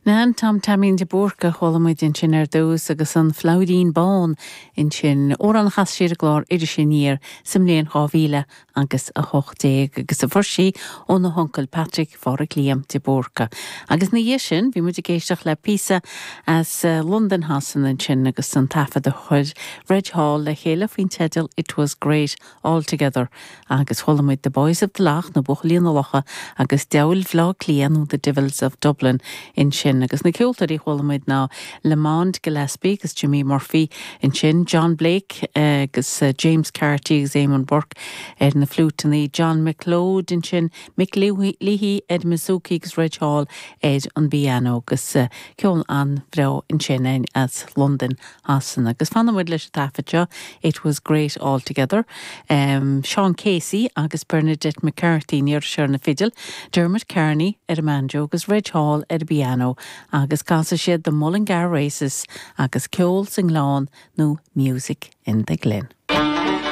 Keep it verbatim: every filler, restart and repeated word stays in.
Nan Tom Taimín de Búrca chuala muid ansin ar dtús agus an Flauirín Bán ansin amhrán a chas sé ar an gclár Iris Aniar sa mbliain dhá mhíle agus a hocht déag agus a fuair sí óna huncail Patrick Phádraig Liam de Búrca. Agus ina dhiaidh sin bhí muid ag éisteacht le píosa as eh, Londain Shasana ansin agus an taifead a chuir Reg Hall le chéile faoin teideal It Was Great All Together agus chuala muid The Boys of the Lough nó Buachaillí na Locha agus Diabhail Bhaile Átha Cliath nó The Devils of Dublin ansin agus na ceoltóirí chuala muid ná Lamond Gillespie agus Jimmy Murphy ansin John Blake eh, agus eh, James Carty agus Eamon Burke ar na fliúiteanna John McLeod ansin Mick Leahy Ed Mizuki agus Reg Hall ar an bpianó agus eh, ceol an-bhreá ansin as London Shasana agus fanfaimid leis an taifead seo It was great all together. Um, Sean Casey agus Bernadette McCarthy níor ar na fidil, Dermot Kearney ar an mbanjo agus Reg Hall ar an bpianó agus casfaidh siad the Mullingar Races agus ceol sa nGleann nó Music in the Glen.